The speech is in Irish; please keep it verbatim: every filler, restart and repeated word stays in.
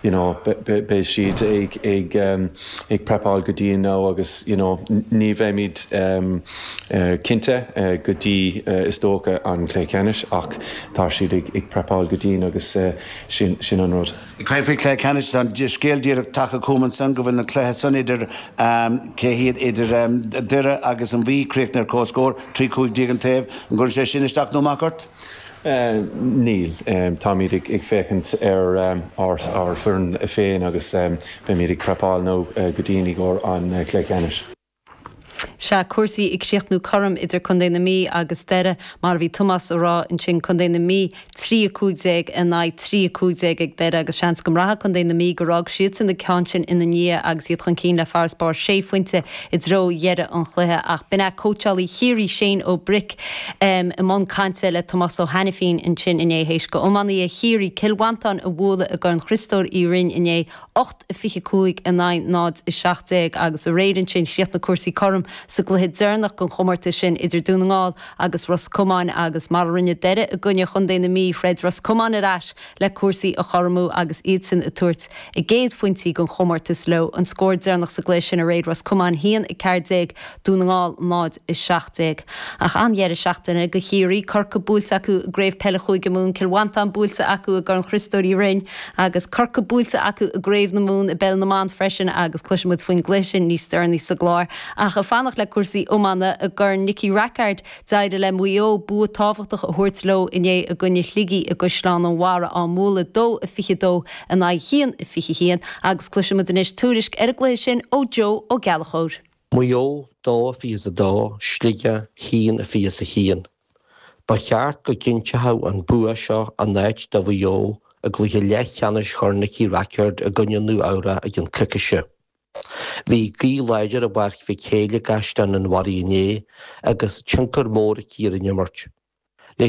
you know, beidh siad ag ag um, ag prepáil go dian now agus you know, ní bheimid um, uh, cinnte uh, go dtí uh, is dócha an cluiche ceannais ach tá siad ag, ag prepáil go dian agus uh, sin, sin an rud. Caithfidh cluiche ceannais an scéal díreach tagtha chugam ansan go bhfuil na cluiche san idir um, cé hiad idir um, Doire agus an Mhí críochnaithe ar comhscór trí cúig déag an taobh an gcuireann sé sin isteach nó amach ort? Uh, níl um, táimid ag, ag féachaint ar um, ár, ár foireann féin agus um, beimid ag prepáil nó uh, go dian i gcomhair an uh, cluiche ceannais. Sea cúrsaí ag críochnú cothrom idir Contae na Mí agus Doire mar bhí Tomás á rá ansin Contae na Mí trí cúig déag in aghaidh trí cúig déag ag Doire agus seans go mbraithfidh Contae na Mí gur fhág siadsan an ceann sin ina ndiaidh agus iad chun cinn le farasbarr sé phointe i dtreo dheireadh an chluiche ach b'in é cóitseálaí Chiarraí Shane Ó Bric um, i mbun cainte le Tomás Ó hAiniféin ansin inné théis do iománaithe Chiarraí Cill Mhantáin a bhualadh i gCorn Chriostóir Uí Rinn inné ocht a fiche cúig in aghaidh náid a seacht déag agus aréir ansin chríochnaigh cúrsaí cothrom sa gcluiche deireanach den chomórtas sin idir Dún na nGall agus Ros Comáin agus mar a rinne Doire i gcoinne Chontae na Mí throid Ros Comáin ar ais le cúrsaí a chothromú agus iadsan ag tabhairt a gcéad phointí den chomórtas leo an scór deireanach sa gcluiche sin aréir Ros Comáin haon a ceathair déag Dún na nGall náid a seacht déag. Ach an-dheireadh seachtaine do Chiarraí Corcaigh buailte acu i gCraobh Peile Chúige Mumhan Cill Mhantáin buailte acu i gCorn Chriostóir Uí Rinn agus Corcaigh buailte acu i gCraobh na Mumhan i bPeil na mBan freisin agus cloisfimid faoin gcluiche sin níos deireanaí sa gclár. Ach ag fanacht le cúrsaí iomána i gCorn Nicky Rackard d'éirigh le Maigh Eo bua tábhachtach a thabhairt leo inné i gcoinne Shligigh i gCaisleán an Bharraigh á mbualadh dó a fiche dó in aghaidh haon a fiche haon agus cloisfimid anois tuairisc ar an gcluiche sin ó Joe Ó Gallchóir. Maigh Eo dó a fiche a dó, Sligeach haon a fiche a haon. Ba cheart go gcinnteodh an bua seo a n-áit do Mhaigh Eo i gcluiche leathcheannais Chorn Nicky Rackard i gcoinne Nua-Eabhrac i gceann coicíse. Bhí gaoth láidir i bPáirc Mhic Éil i gCaisleán an Bharraigh inné agus tionchar mór aici ar an imirt.